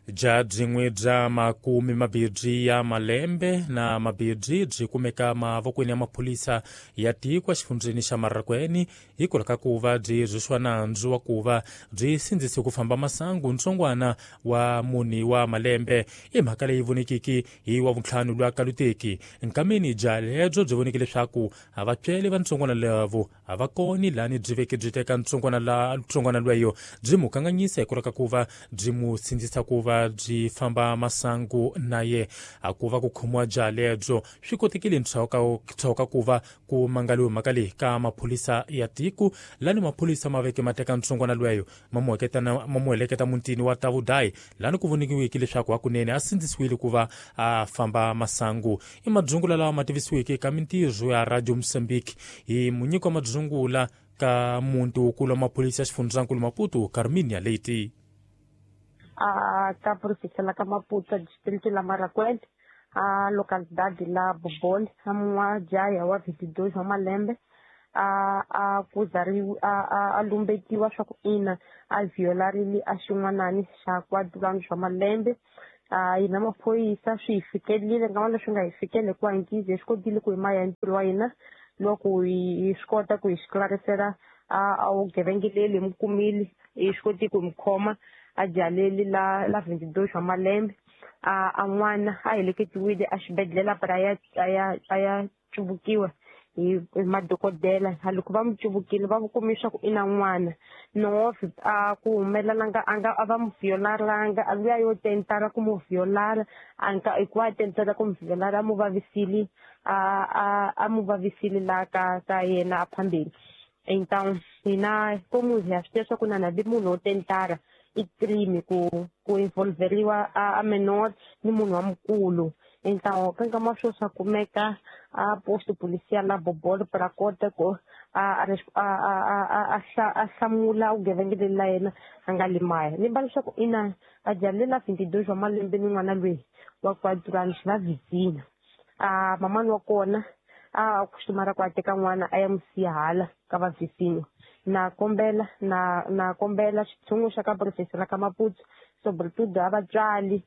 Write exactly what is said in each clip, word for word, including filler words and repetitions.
Bya byin'we bya makume mabirhi ya malembe na mabirhi byi kumeka mavokweni ya maphorisa ya tiko exifundzheni xa Marraquene hikwalaho ka ku va byi rhwexiwa nandzu wa ku va byi sindzise ku famba masangu ntsongwana wa mune wa malembe. I mhaka leyi vonekiki hi wa vuntlhanu lwa kaluteki nkameni bya lebyo byi voneke leswaku a vatswele va ntsongwana lavo a va koni lani byi veke byi teka ntsongwana la ntsongwana lweyo byi mu kanganyisa hikwalaho ka ku va byi mu sindzisa ku va byi famba masangu na ye. A ku va ku khomiwa bya lebyo swi kotekile ntshawu ka ku va ku mangaliwe mhaka leyi ka maphorisa ya tiko lani maphorisa ma veke ma teka ntsongwana lweyo ma mu ma mu heleketa mutini wa Tavudayi lani ku vonikiweke leswaku hakunene a sindzisiwile ku va a famba masangu. I madzungula lawa ma tivisiweke ka mintirho ya Radio Mozambique hi munyiki wa madzungula ka muti wukulu wa maphorisa ya xifundzankulu Maputo, Carminia Leite. A ka província la ka Maputo, distrito la Marraquene, a localidade la Bobole, a n'wajaya wa vinte e dois wa malembe a a kuzariwa a a lumbetiwa swa ku ina a violarile a xin'wanani xa quatro anos wa malembe. A hina maphorisa swi hi fikerile nkama leswi nga hi fikela hikuva hinkizi hi swi kotile ku hi maya ntirho wa hina loko hi swi kota ku hi xiklarisela a a vugevenga leli hi mu kumile, hi swi koti ku hi mu khoma a jaleli la la vinte e dois wa malembe. A a n'wana a heleketiwile a xibedhlele para a ya a ya a ya cuvukiwa hi hi madokodela. Loko va mu cuvukile va kume swa ku i na n'wana nove a ku humelela a nga a va mu violaranga a luya yo tentara ku mu violara a nga hikuva a tentara ku mu violara a mu vavisile a a a mu vavisile la ka ka yena a phambeni. Então hina como hi swi tiva swa ku na na munhu wo tentara i crime ku ku involveriwa a, a menor ni munhu wa mukulu. Então ka nkama swo swa kumeka a posto policial la Bobolo para kota ku a a a a a hlamula vugevenga leli la yena a nga limaya ni va leswaku ina a jalela vinte e dois wa malembe ni n'wana loyi wa quatro anos va vizina. A mamani wa kona a costumara ku a teka n'wana a ya mu siya hala ka va vizinho. Na kombela na na kombela xitshungu xa ka província la ka Maputo, sobretudo a vatswari,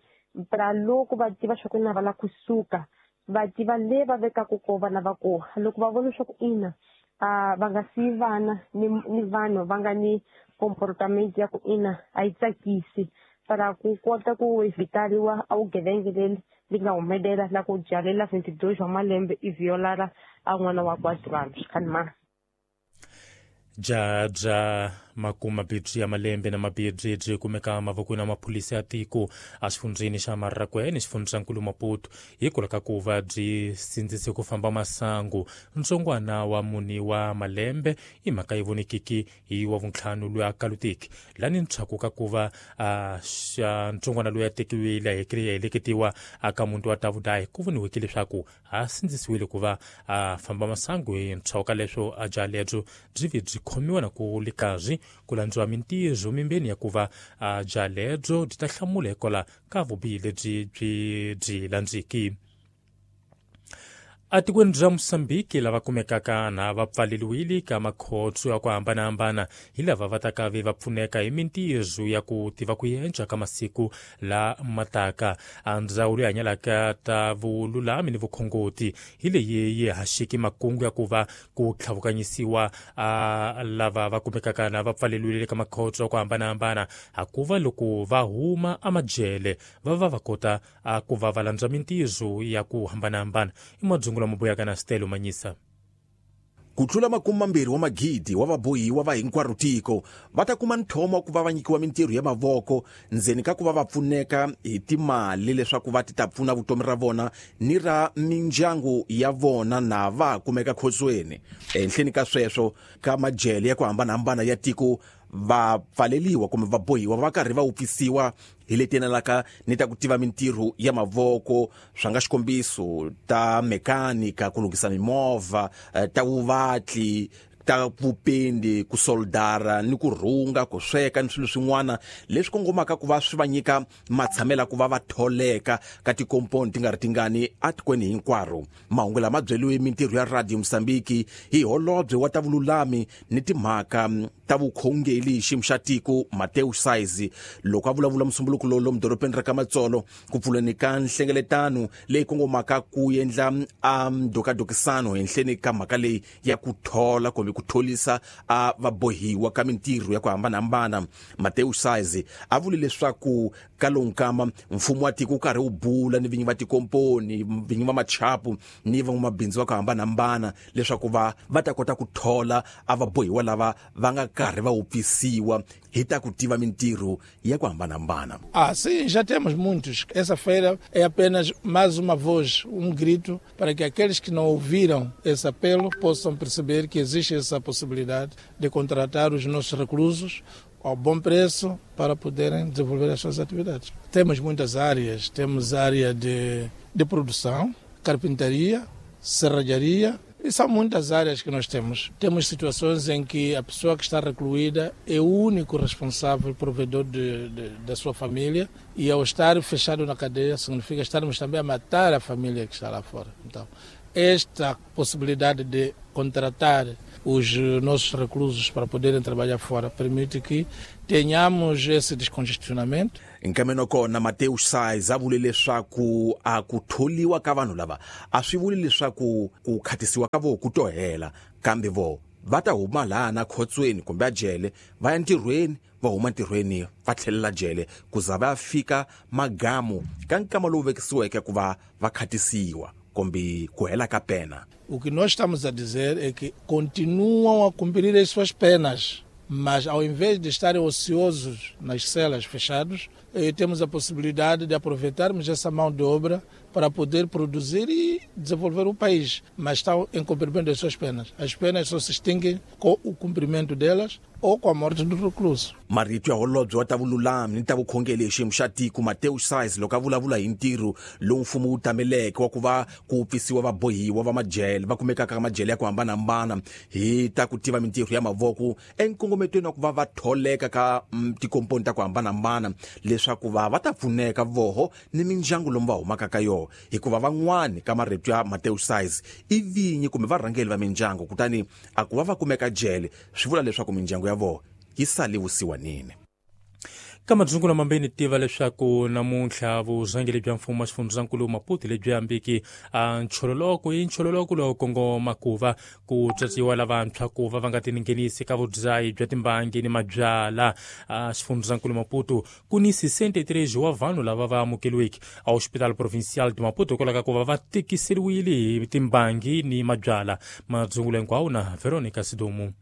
para loko va tiva swa ku na va lava kusuka va tiva le va vekaka kona vana va kona. Loko va vona leswaku ina a va nga siyi vana ni ni vanhu va nga ni comportamento ya ku ina a yi tsakisi para ku kota ku evitariwa a vugevenga leli li nga humelela la ku jalela vinte e dois wa malembe i violara a n'wana wa quatro anos khanima. Bya bya makume mabirhi ya malembe na mabirhi byi kumeka mavokweni ya maphorisa ya tiko exifundzheni xa Marraquene xifundzankulu Maputo hikwalaho ka ku va byi sindzise ku famba masangu ntsongwana wa mune wa malembe. I mhaka yi vonekiki hi wa vuntlhanu loyi a kaluteki lani ntshaku ka ku va a xa ntsongwana loyi a tekiwile a heleketiwa aka muti wa Tavudayi ku voniweke leswaku a sindzisiwile ku va a famba masangu. Hi ntshaku ka leswo a bya lebyo byi vi byi khomiwa na ku le karhi ku landziwa mintirho mimbeni ya ku va a bya lebyo byi ta hlamula hikwalaho ka vubihi lebyi byi byi landziki. Atikweni ra Mosambiki lava kumekaka na va pfaleriwile ka makhotso ya ku hambanahambana hi lava va taka ve va pfuneka hi mintirho ya ku tiva ku yenca ka masiku la mataka. A ndzawulo yi hanyelaka ta vululami ni vukhongoti hi leyi yi haxiki makungu ya ku va ku tlhavukanyisiwa a lava va kumekaka na va pfaleriwile ka makhotso ya ku hambanahambana hakuva loko va huma amajele va va va kota a ku va va landza mintirho ya ku hambanahambana. I madzungula mabuyaka na Stelo Manyisa. Ku tlula makume mambirhi wa magidi wa vabohiwa va hinkwaro tiko va ta kuma nthomo wa ku va va nyikiwa mintirho ya mavoko ndzeni ka ku va va pfuneka hi timali leswaku va ti ta pfuna vutomi ra vona ni ra mindyangu ya vona na va kumeka khotsweni. Ehenhleni ka sweswo, ka majele ya ku hambanahambana ya tiko va pfaleliwa kumbe va bohiwa va karhi va wupfisiwa hi leti yenelaka ni ta ku tiva mintirho ya mavoko, swa nga xikombiso ta mekanika, ku lunghisa mimovha, ta vuvatli, ta vupendi, ku soldara ni ku rhunga, ku sweka ni swilo swin'wana leswi kongomaka ku va swi va nyika matshamela ku va va tholeka ka tikomponi ti nga ri tingani atikweni hinkwaro. Mahungu lama byeliwe mintirho ya Radio Mozambique hi holobye wa ta vululami ni timhaka ta vukhongeli xiyimo xa tiko Mateus Saizi loko a vulavula musumbuluko lowu lomu dorobeni ra ka Matsolo ku pfuleni ka nhlengeletano leyi kongomaka ku endla a ndokadokisano henhleni ka mhaka leyi ya ku thola kumbe ku tholisa a vabohiwa ka mintirho ya ku hambanahambana. Mateus Saizi a vule leswaku ka lowu nkama mfumo wa tiko wu karhi wu bula ni vinyi va tikomponi, vinyi va machapu ni van'wamabindzu va ku hambanahambana leswaku va va ta kota ku thola a vabohiwa lava va nga karhi va wupfisiwa hi ta ku tiva mintirho ya ku hambanahambana. Ah, sim, já temos muitos. Essa feira é apenas mais uma voz, um grito para que aqueles que não ouviram esse apelo possam perceber que existe essa possibilidade de contratar os nossos reclusos ao bom preço para poderem desenvolver as suas atividades. Temos muitas áreas, temos área de, de produção, carpintaria, serralharia, e são muitas áreas que nós temos. Temos situações em que a pessoa que está recluída é o único responsável, provedor de, de, da sua família, e ao estar fechado na cadeia significa estarmos também a matar a família que está lá fora. Então, esta possibilidade de contratar os nossos reclusos para poderem trabalhar fora permite que tenhamos esse descongestionamento. Nkameno kona Mateus Saiz a vule leswaku a ku tholiwa ka vanhu lava a swi vuli leswaku ku khatisiwa ka vo ku to hela, kambe vo va ta huma laha na khotsweni kumbe a jele va ya ntirhweni, va huma ntirhweni va tlhelela jele ku za va fika magamu ka nkama lowu vekisiweke ku va va khatisiwa kumbe ku hela ka pena. O que nós estamos a dizer é que continuam a cumprir as suas penas, mas ao invés de estarem ociosos nas celas fechados, eh, temos a possibilidade de aproveitarmos essa mão de obra para poder produzir e desenvolver o país, mas estão em cumprimento das suas penas. As penas só se extinguem com o cumprimento delas ou com a morte do recluso. Marito ya holobye wa ta vululami ni ta vukhongeli xiyimo xa tiko Mateus Saiz loko a vulavula hi ntirho lowu mfumo wu tameleke wa ku va ku pfisiwa vabohiwa va majele va kumekaka ka majele ya ku hambanahambana hi ta ku tiva mintirho ya mavoko enkongometweni wa ku va va tholeka ka tikomponi ta ku hambanahambana leswaku va va ta pfuneka voho ni mindyangu lomu va humaka ka yona, hikuva van'wani ka marito ya Mateus Saiz i vinyi kumbe varhangeli va mindyangu, kutani a ku va va kumeka jele swi vula leswaku mindyangu ya vona yi sale vusiwanini. Ka madzungulo mambeni tiva leswaku namuntlha vurhangeri bya mfumo wa xifundzankulu Maputo lebyi ambiki a nchololoko i nchololoko lowu kongoma ku va ku tswatsiwa lavantshwa ku va va nga tinghenisi ka vudzayi bya timbangi ni mabyala. A xifundzankulu Maputo ku ni sessenta e três wa vanhu lava va amukeriweke a Hospital Provincial de Maputo hikwalaho ka ku va va tikiseriwile hi timbangi ni mabyala. Madzungulo hinkwawo na Veronica Sidomu.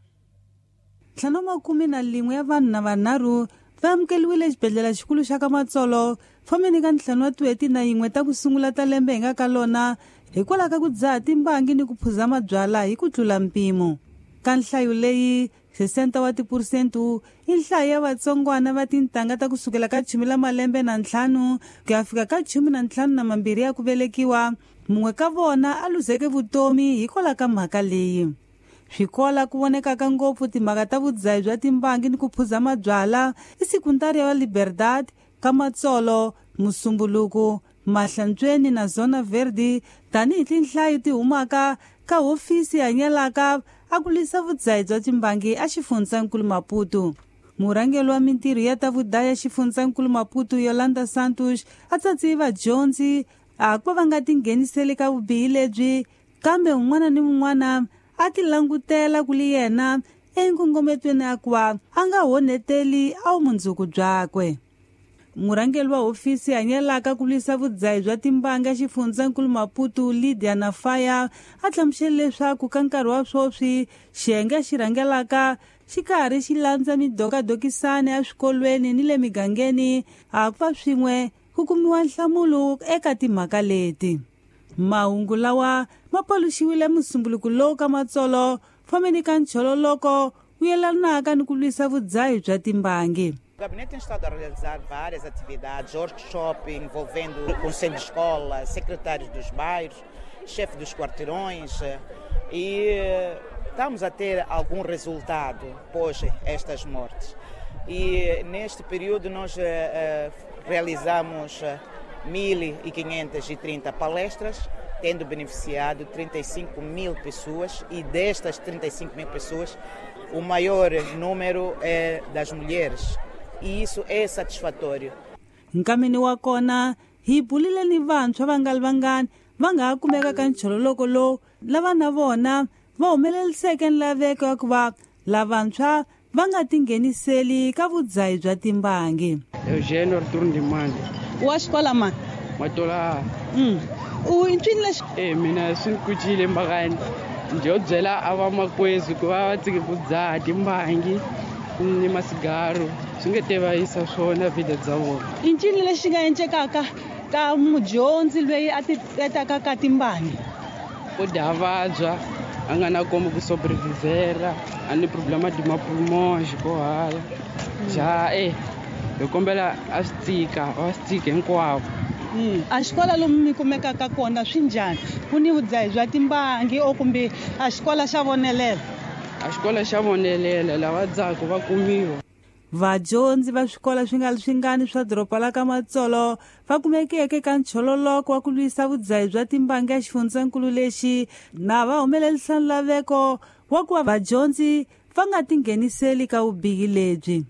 Ntlhanu makume na lin'we ya vanhu na vanharhu va amukeriwile exibedhlele xikulu xa ka Matsolo fomeni ka ntlhanu wa tin'hweti na yin'we ta ku sungula ta lembe hi nga ka lona hikwalaho ka ku dzaha timbangi ni ku phuza mabyala hi ku tlula mpimo. Ka nhlayo leyi sessenta wa tiphurusente i nhlayo ya vatsongwana va tintangha ta kusukela ka chumi la malembe na ntlhanu ku ya fika ka chumi na ntlhanu na mambirhi ya ku velekiwa, mun'we ka vona a luzeke vutomi hikwalaho ka mhaka leyi. Swikola ku vonekaka ngopfu timhaka ta vudzayi bya timbangi ni ku phuza mabyala i sekundari ya Liberdade ka Matsolo, Musumbuluku, Mahlantsweni na Zona Verde tanihi tinhlayo ti humaka ka hofisi hanyelaka a ku lwisa vudzayi bya timbangi a xifundzankulu Maputo. Murhangeri wa mintirho ya ta vudaya xifundzankulu Maputo Yolanda Santos a tsatsiwe vadyondzi a ku va va nga tingheniseli ka vubihi lebyi, kambe un'wana ni un'wana a ti langutela ku li yena enkongometweni ya ku va a nga honeteli a vumundzuku byakwe. Murhangeri wa hofisi hanyelaka ku lwisa vudzayi bya timbanga xifundzankulu Maputo Lydia Nafaya a hlamusele leswaku ka nkarhi wa sweswi xiyenge xi rhangelaka xi karhi xi landza midokadokisana eswikolweni ni le migangeni a ku va swin'we ku kumiwa nhlamulo eka timhaka leti. Mahungu lawa ma paluxiwile musumbuluku lowu ka Matsolo fomeni ka nchololoko wu yelanaka ni ku lwisa vudzayi bya timbangi. O gabinete tem estado a realizar várias atividades, workshops envolvendo o conselho de escola, secretários dos bairros chefe dos quarteirões, e estamos a ter algum resultado pós estas mortes. E neste período nós realizamos mil e quinhentas e trinta palestras, tendo beneficiado trinta e cinco mil pessoas, e destas trinta e cinco mil pessoas, o maior número é das mulheres, e isso é satisfatório. Nkamini wa kona hi bulile ni vantshwa va nga ri vangani va nga ha kumeka ka nchololoko lowu lava na vona va humeleriseke nlaveko ya ku va lavantshwa va nga tingheniseli ka vudzahi bya timbangi. Eugênio Arthur Ndimande. Wa xikola mani? Matola. Mm. U ncini lexi? Eh mina swi ni kucile mbakani. Njo byela a vamakwezi ku va va tshike ku dzaha timbangi ni masigaro swi nge te va yisa swona vida bya vona. I ncini lexi nga encekaka ka mudyondzi loyi a ti etaka ka timbangi? Ku dya vabya a nga na komo ku sobrevivera a ni problema de mapulmons ko hala ja eh hi kombela a swi tika va swi tika hinkwavo. A xikola lomu mi kumekaka kona swi njhani? Ku ni vudzahi bya timbangi o kumbe a xikola xa vonelela? A xikola xa vonelela lava dzaka va kumiwa. Vadyondzi va swikolo swi nga ri swingani swa doroba la ka Matsolo va kumekeke ka nchololoko wa ku lwisa vudzahi bya timbangi exifundzenkulu lexi na va humelerisa nlaveko wa ku va vadyondzi va nga tingheniseli ka vubihi lebyi.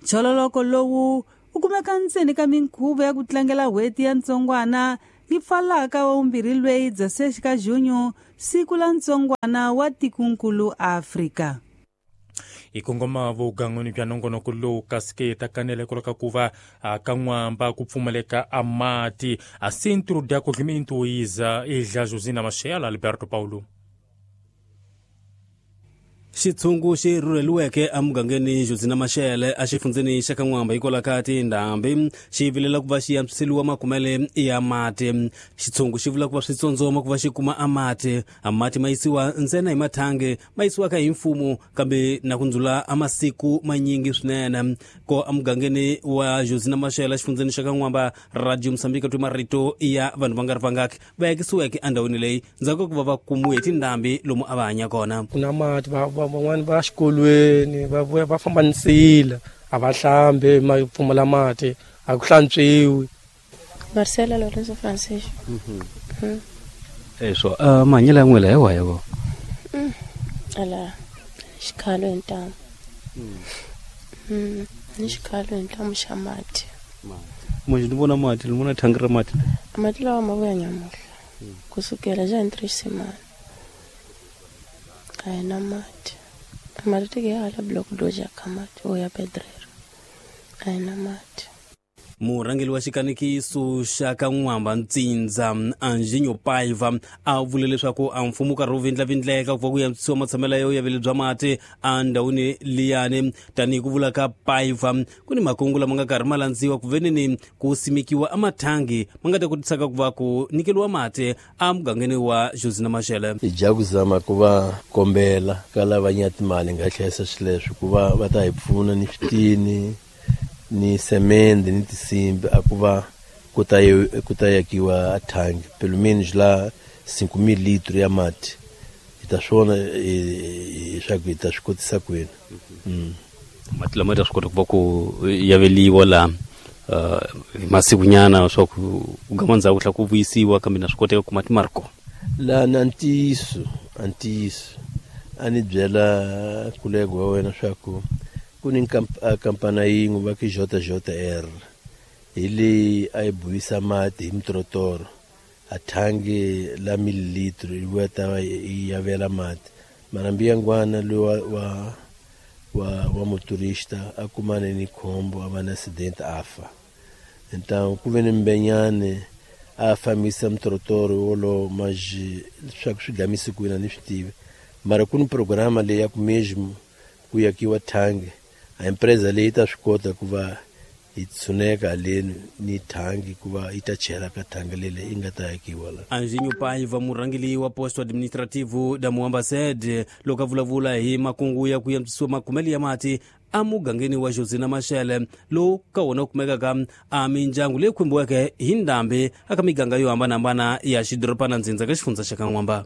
Nchololoko lowu u kumeka ntseni ka minkhuvo ya ku tlangela n'hweti ya ntsongwana yi pfalaka wa vumbirhi lweyi Dzasexi ka Junyo, siku la ntsongwana wa tikonkulu Afrika. Hi kongoma vugan'wini bya nongonoko lowu kasi ke ta kanela hikwalaho ka ku va ka n'wamba ku pfumaleka a mati a Centro de Acolhimento Isa Ilha Josina Machel Alberto Paulo. Xitshungu xi rhurheliweke emugangeni Josina Machel exifundzeni xa ka N'wamba hikwalaho ka tindhambi xi vilela ku va xi antswiseliwa makumele ya mati. Xitshungu xi vula ku va switsondzoma ku va xi kuma a mati. A mati ma yisiwa ntsena hi mathangi ma yisiwaka hi mfumo kambe na ku ndzula a masiku manyingi swinene. Ko emugangeni wa Josina Machel exifundzeni xa ka N'wamba, Radio Mozambique twe marito ya vanhu va nga ri vangaki va yekisiweke endhawini leyi ndzhaku ka ku va va kumiwe hi tindhambi lomu a va hanya kona. Ku na mati va van'wani va xikolweni va vuya va famba nsila a va hlambi ma pfumala mati a ku hlantswiwi. Marcela Lorenzo Francisco. Mhm. Eso uh, mahanyelo ya n'wina hi wahi vo? Ala xikhalo hi ntamu. Mm. Ni xikhalo hi ntamu xa mati. Manje ni vona mati, ni vona thangi ra mati. Mati lawa ma vuya nyamuhla. Kusukela ja hi três semanas. A hi na mati. Mati tike hala bloco dois ya ka mati o ya pedreiro. A hi na mati. Murhangeri wa xikanikiso xa ka N'wamba Ntsindza Anjinho Paiva a vule leswaku a mfumo karhi wu vindlavindleka ku va ku antswisiwa matshamelo ya vuyaveli bya mati endhawini liyani. Tanihi ku vula ka Paiva, ku ni makungu lama nga karhi ma landziwa ku veneni ku simekiwa emathangi ma nga ta kotisaka ku va ku nyikeliwa mati emugangeni wa Josina Machel. Hi dya ku zama ku va kombela ka lava nya timali nga hlayisa swileswi ku va va ta hi pfuna ni switini ni semende ni tinsimbi a ku va ku ta ku ta yakiwa thangi pelo menos lá cinco mil litros ya mati hi ta swona leswaku hi ta swi kotisa kwini. Mati lama ta swi kota ku va ku yaveliwa la hi masikunyana swa ku gama ndzhaku tlhela ku vuyisiwa kambe na swi koteka ku mati ma ri kona. La na ntiyiso a ntiyiso a ni byela kulego wa wena swa ku ku ni kampani yin'we va ku J J R hi leyi a yi buyisa mati hi mitorotoro a thangi la mililitro yi vuya ta yi yavela mati mara mbiyangwana loyi wa wa wa wa motorista a kumane ni khombo a va na accident a fa. Então ku ve ni mbenyane a fambisa mitorotoro wolowo mas leswaku swi gamise kwini a ni swi tivi mara ku ni programa leyi ya ku mesmo ku yakiwa thangi a empresa leyi ta swi kota ku va Hi tshuneka haleni ni thangi ku va yi ta chela ka thangi lele yi nga ta akiwa la. Anjinho Paiva, murhangeli wa posto administrativo da Muamba sede, loko a vulavula hi makungu ya ku antswisiwa makumelo ya mati emugangeni wa Josina Machel, lowu ka wona kumekaka a mindyangu leyi khumbiweke hi ndhambi eka miganga yo hambanahambana ya xidorobana ndzindza ka xifundza xa Kan'wamba.